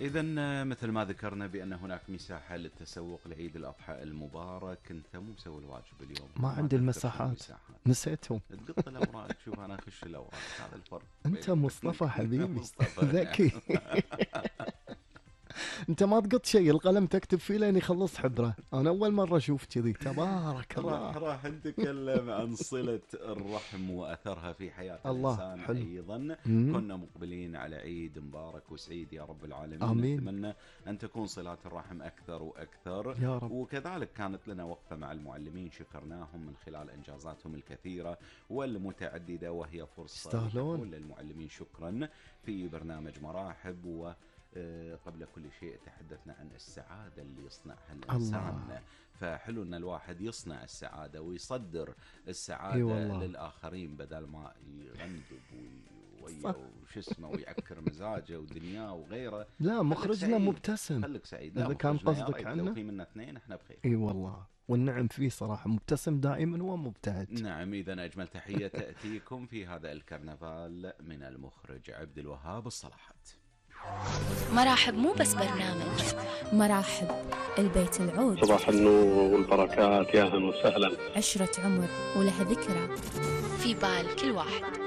إذن مثل ما ذكرنا بأن هناك مساحة للتسوق لعيد الأضحى المبارك. أنت مو مسوي الواجب اليوم؟ ما عندي المساحات، نسيتهم. تقط الأوراق. شوف أنا أخش الأوراق، هذا الفرق. أنت مصطفى حبيبي مصطفى ذكي. أنت ما تقط شيء، القلم تكتب فيه لين يخلص حبره. أنا أول مرة أشوف كذي، تبارك الله. راح نتكلم عن صلة الرحم وأثرها في حياة الإنسان. حلو. أيضا كنا مقبلين على عيد مبارك وسعيد يا رب العالمين. آمين. نتمنى أن تكون صلات الرحم أكثر وأكثر يا رب. وكذلك كانت لنا وقفة مع المعلمين، شكرناهم من خلال إنجازاتهم الكثيرة والمتعددة، وهي فرصة للمعلمين. شكرا في برنامج مراحب. قبل كل شيء تحدثنا عن السعادة اللي يصنعها الإنسان. فحلو أن الواحد يصنع السعادة ويصدر السعادة للآخرين بدل ما يغندب وش اسمه ويعكر مزاجه ودنياه وغيره. لا، مخرجنا مبتسم. خليك سعيد. إذا كان قصدك عنه، لو في منا اثنين احنا بخير. اي والله، والنعم فيه صراحة، مبتسم دائما ومبتهج. نعم. إذا أجمل تحية تأتيكم في هذا الكرنفال من المخرج عبد الوهاب الصلاحات. مراحب مو بس برنامج، مراحب البيت العود. صباح النور والبركات، يا أهلا وسهلا. عشرة عمر ولها ذكرى في بال كل واحد.